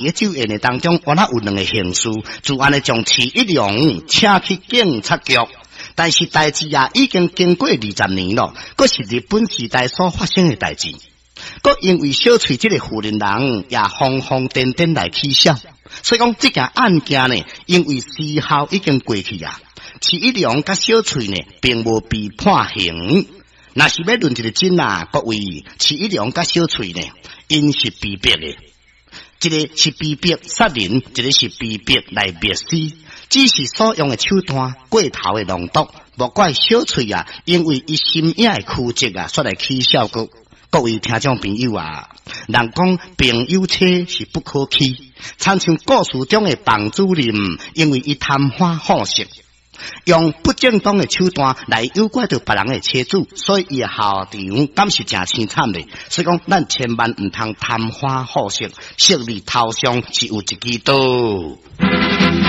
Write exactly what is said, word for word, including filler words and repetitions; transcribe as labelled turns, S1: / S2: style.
S1: 佇酒宴的當中，原來有兩个刑事，就按呢將徐一龍請去警察局。但是代誌啊，已經經過二十年咯，閣是日本時代所發生的代誌。閣因為小翠這个婦人人也瘋瘋癲癲來起痟，所以講這件案件呢，因為時效已經過去啊，徐一龍佮小翠呢，並無被判刑。若是欲論一个真啊，各位，徐一龍佮小翠呢，𪜶是被逼的。一个是被逼殺人，一个是被逼來滅屍，只是所用的手段過頭的濃毒，莫怪小翠啊，因為伊心影的曲折啊，煞來起痟閣。各位聽眾朋友啊，人講朋友妻是不可欺，親像故事中的房主任，因為伊貪歡好色，用不正當的手段來誘拐著別人的妻子，所以伊的下場敢是誠凄慘的。所以講，咱千萬毋通貪歡好色，色字頭上是有一支刀。